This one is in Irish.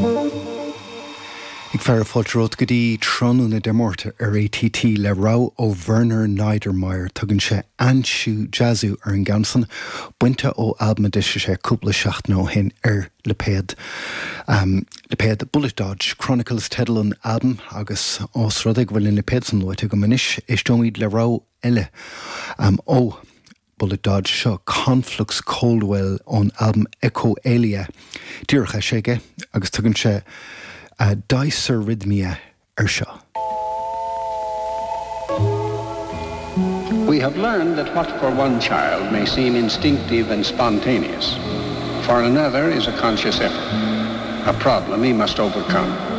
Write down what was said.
Ag fearadh fáilte romhat go dtí tráthnóna Dé Máirt ar ATT le rogha ó Werner Neidermayer. Tugann sé Ansu Jazu ar an gceann san, bainte ó albam a d'eisigh sé cúpla seachtain ó shin ar lipéad lipéad Bullet Dodge Chronicles teideal an albaim agus ós rud é go bhfuil an lipéad san luaite agam anois, éisteoimid le rogha eile ó Bullet Dodge seo Conflux Coldwell ón albam Echo Alia díreach eisithe aige agus tugann sé Dysarrhythmia air seo. We have learned that what for one child may seem instinctive and spontaneous, for another is a conscious effort, a problem he must overcome.